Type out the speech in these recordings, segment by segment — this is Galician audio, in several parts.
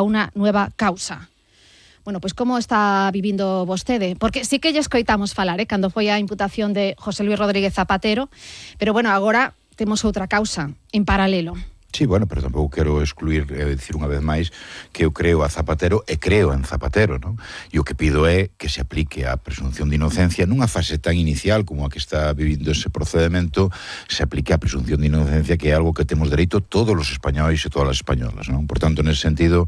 unha nueva causa. Bueno, pois como está vivindo vostede? Porque sí que lle escoitamos falar, cando foi a imputación de José Luis Rodríguez Zapatero, pero bueno, agora temos outra causa en paralelo. Sí, bueno, pero tampouco quero excluir, decir unha vez máis, que eu creo a Zapatero e creo en Zapatero, non? E o que pido é que se aplique a presunción de inocencia nunha fase tan inicial como a que está vivindo ese procedimento, se aplique a presunción de inocencia, que é algo que temos dereito todos os españois e todas as españolas, non? Por tanto, nese sentido,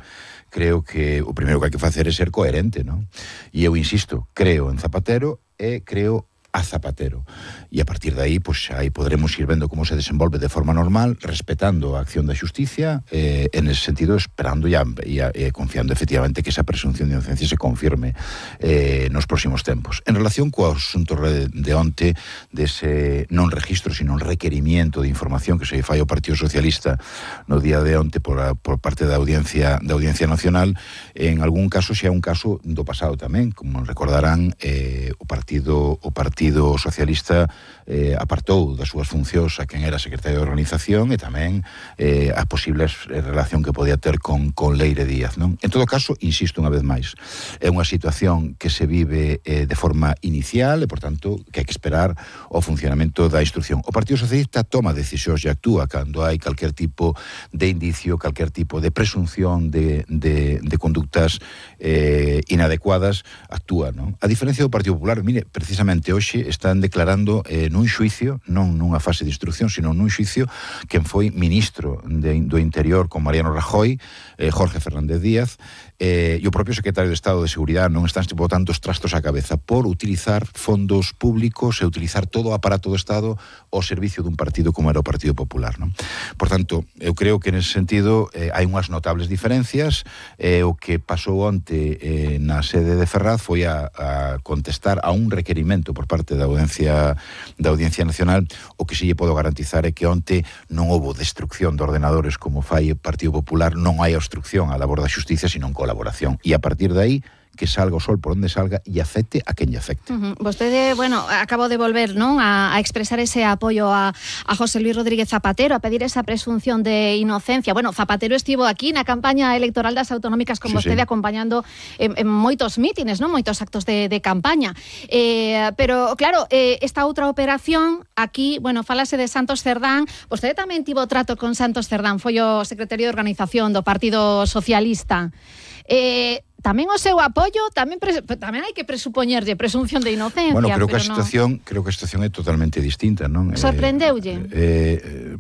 creo que o primeiro que hai que facer é ser coherente, non? E eu insisto, creo en Zapatero e creo a Zapatero. E a partir de aí, pois aí podremos ir vendo como se desenvolve de forma normal, respetando a acción da xusticia, en ese sentido, esperando e confiando efectivamente que esa presunción de inocencia se confirme nos próximos tempos. En relación co asunto de onte, dese non registro, sino requerimiento de información que se fai ao Partido Socialista no día de onte por parte da Audiencia Nacional, en algún caso xa é un caso do pasado tamén, como recordarán, o Partido Socialista apartou das súas funcións a quen era secretario de organización e tamén a posible relación que podía ter con Leire Díaz, non? En todo caso, insisto unha vez máis, é unha situación que se vive de forma inicial e, por tanto, que hai que esperar o funcionamento da instrucción. O Partido Socialista toma decisións e actúa cando hai calquer tipo de indicio, calquer tipo de presunción de conductas inadecuadas, actúa, non? A diferencia do Partido Popular, mire, precisamente hoxe están declarando nun xuicio, non nunha fase de instrucción, sino nun xuicio, quen foi ministro do Interior con Mariano Rajoy, Jorge Fernández Díaz, e o propio secretario de Estado de Seguridade non están botando os trastos á cabeza por utilizar fondos públicos e utilizar todo o aparato do Estado ao servicio dun partido como era o Partido Popular, non? Por tanto, eu creo que nese sentido hai unhas notables diferencias. O que pasou onte na sede de Ferraz foi a contestar a un requerimento por parte da Audiencia Nacional. O que si lle podo garantizar é que onte non houbo destrucción de ordenadores como fai o Partido Popular, non hai obstrucción á labor da xusticia, sino en colaboración. E a partir de aí, que salga o sol por onde salga e afecte a quen lle afecte. Vostede, bueno, acabo de volver, non, a expresar ese apoio a José Luis Rodríguez Zapatero, a pedir esa presunción de inocencia. Bueno, Zapatero estivo aquí na campaña electoral das autonómicas con vostede, acompañando en moitos mítines, non, moitos actos de campaña. Pero, claro, esta outra operación, aquí, bueno, falase de Santos Cerdán. Vostede tamén tivo trato con Santos Cerdán, foi o secretario de organización do Partido Socialista. Tamén o seu apoio, tamén hai que presupoñerlle presunción de inocencia. Bueno, creo que a situación é totalmente distinta, non? Sorprendeulle?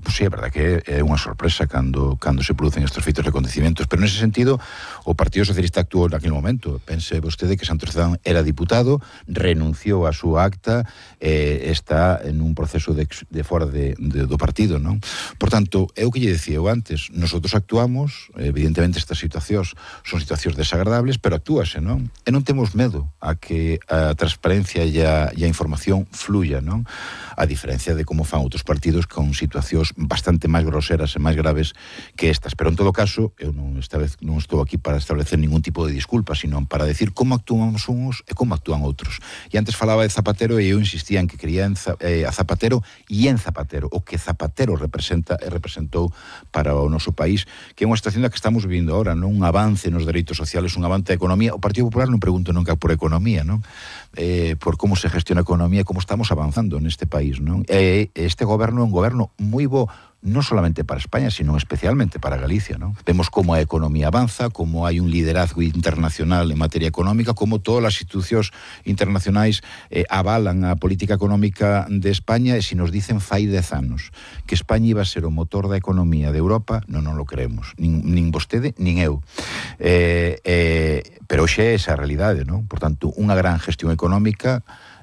Pois sí, é verdade que é unha sorpresa cando se producen estes feitos de acontecimientos, pero nese sentido o Partido Socialista actuou naquele momento. Pense vostede que Santos Cerdán era diputado, renunciou a súa acta, está en un proceso de fora do partido, non? Por tanto, é o que lle decía eu antes, nosotros actuamos, evidentemente estas situacións son situacións desagradables, pero actúase, non? E non temos medo a que a transparencia e a información fluya, non? A diferencia de como fan outros partidos con situacións bastante máis groseras e máis graves que estas. Pero en todo caso, eu esta vez non estou aquí para establecer ningún tipo de disculpa, sino para decir como actuamos uns e como actúan outros. E antes falaba de Zapatero e eu insistía en que quería a Zapatero e en Zapatero, o que Zapatero representa e representou para o noso país, que é unha situación da que estamos vivindo ahora, non? Un avance nos dereitos sociales, un avance da economía. O Partido Popular non pregunto nunca por economía, non? Por como se gestiona a economía, como estamos avanzando neste país, non? Este goberno é un goberno moi bo, non solamente para España, sino especialmente para Galicia, non? Vemos como a economía avanza, como hai un liderazgo internacional en materia económica, como todas as institucións internacionais avalan a política económica de España, e se nos dicen fai 10 anos que España iba a ser o motor da economía de Europa, non lo creemos, nin vostede, nin eu. Pero hoxe é esa a realidade, non? Por tanto, unha gran gestión económica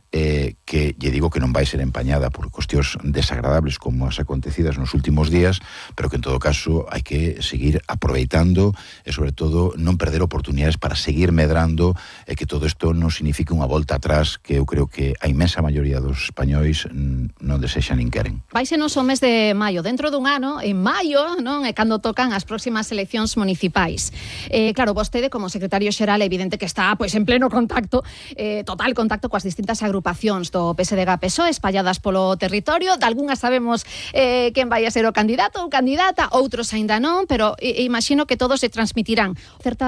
que lle digo que non vai ser empañada por cuestións desagradables como as acontecidas nos últimos días, pero que en todo caso hai que seguir aproveitando e sobre todo non perder oportunidades para seguir medrando, e que todo isto non signifique unha volta atrás que eu creo que a inmensa maioría dos españois non desexan nin queren. Váisenos o mes de maio, dentro dun ano, en maio, non, é cando tocan as próximas eleccións municipais. Claro, vostede como secretario xeral é evidente que está pois en pleno contacto, total contacto coas distintas agrupacións agrupacións do PSDG-PSOE espalladas polo territorio. De algunhas sabemos quen vai a ser o candidato ou candidata, outros aínda non, pero imagino que todos se transmitirán certa